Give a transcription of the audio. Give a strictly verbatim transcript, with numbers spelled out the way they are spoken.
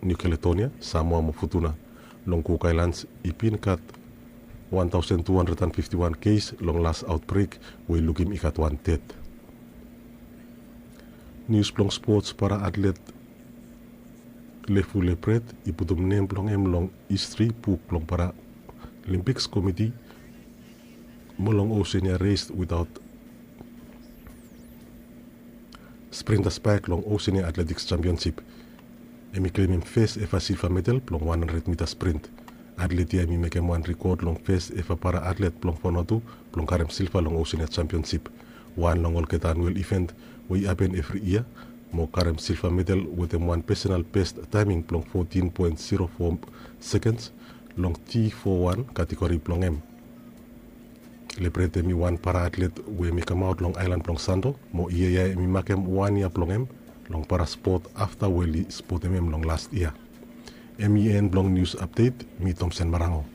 New Caledonia, Samoa mo Futuna. Long Cook Islands i bin gat wan taosen tu handred an fifti wan kes long las aotbrek, we i lukim i gat wan ded. Nius blong spots, para atlet Lefu Lepret i putum nem blong hem long histri buk blong Paralimpiks Komiti mo long Oceania res witaot sprinta spaek long Oceania Atletiks Jampionsip. Hem i klemem fes eva silva medal blong wan handred mita sprint. Atlet ya hem i mekem wan rikod long fes eva para atlet blong Vanuatu blong karem silva long Oceania Jampionsip, wan long olgeta anuel iven we i hapen evri yia, mo karem silva medal wetem wan pesenal bes taeming blong fotin poen zero fo sekens long T fo wan kategori blong hem. Lepret hem i wan para atlet we hem i kamaot long aelan blong Santo, mo yia ya hem i makem wan yia blong hem long para spot afta we oli spotem hem long las yia. Hem i en blong nius apdet. Mi Tomsen Marango.